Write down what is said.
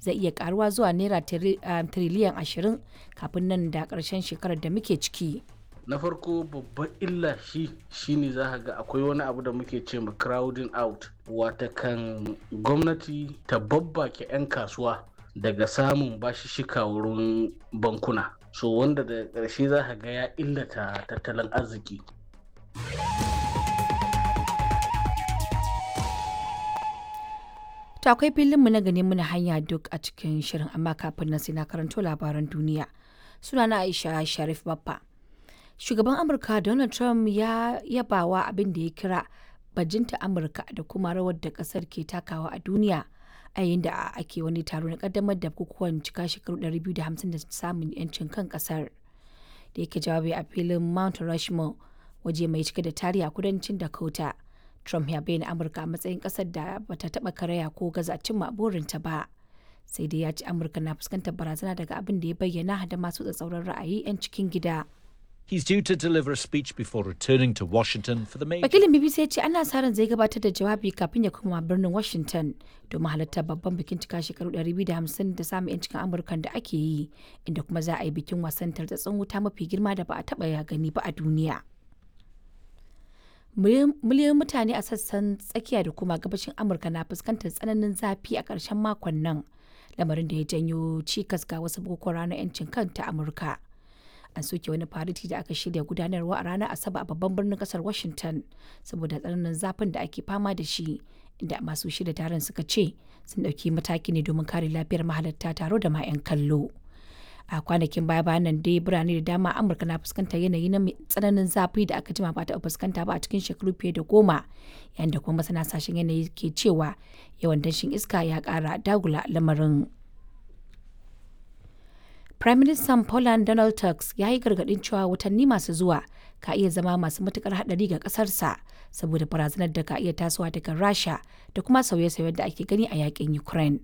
zai iya karuwa zuwa naira tiriliyan 20 kafin nan da ƙarshen shekarar da muke ciki. Na farko, babban illa shi shine za ka ga akwai wani abu da muke ce ma crowding out, watakan gwamnati ta babbake 'yan kasuwa daga samun bashishika wurin bankuna, so wanda da ƙarshe za ka ga ya illata tattalin arziki. To akwai filinmu na gani muna hanya duk a cikin shirin, amma kafin nan sai na karanto labaran duniya. Sunana Aisha Sharif Baffa. Shugaban Amurka Donald Trump ya yabawa abin da ya kira bajinta Amurka da kuma rawar da kasar ke takawa a duniya a yayin da ake wani taro na kaddamar da bukukuwan cika shekaru 250 da samun yancin kan kasar. Da yake jawabi a filin Mount Rushmore, waje mai cike da tarihi a kudancin Dakota. Trump ya bayyana Amurka a matsayin kasar da bata taba karaya ko gaza cimma burinta ba. Sai dai ya ce Amurka na fuskantar barazana daga abin da ya bayyana da masu tsatsauran ra'ayi 'yan cikin gida. He's due to deliver a speech before returning to Washington for the major. Wakilin BBC ya ce ana sa ran zai gabatar da jawabi kafin ya koma birnin Washington domin halartar babban bikin cika shekaru 250 da samun 'yancin Amurkan da ake yi, inda kuma za a yi bikin wasan tartsatsin wuta mafi girma da ba a taɓa ya gani ba a duniya. Miliyoyin mutane a sassan tsakiya da kuma gabashin Amurka na fuskantar tsananin zafi a ƙarshen makon nan, lamarin da ya janyo cikas ga wasu bukukuwan ranar 'yancin kanta Amurka. An soke wani fariti da aka shirya gudanarwa a ranar Asabar a babban birnin kasar Washington saboda tsananin zafin da ake fama da shi, inda masu shirya taron suka ce sun ɗauki mataki ne domin kare lafiyar mahalarta taro da ma 'yan kallo. A kwanakin baya bayan nan dai birane da dama Amurka na fuskantar yanayi na tsananin zafi da aka jima ba ta fuskanta ba a cikin shekaru fiye da 10, yayin da kuma masana sashen yanayi ke cewa yawan danshin iska ya kara dagula lamarin. Prime Minister Poland Donald Tusk ya yi gargaɗin cewa watanni masu zuwa ka iya zama masu matukar haɗari ga ƙasarsa saboda barazanar da ka iya tasowa daga Rasha da kuma sauye-sauyen da ake gani a yakin Ukraine.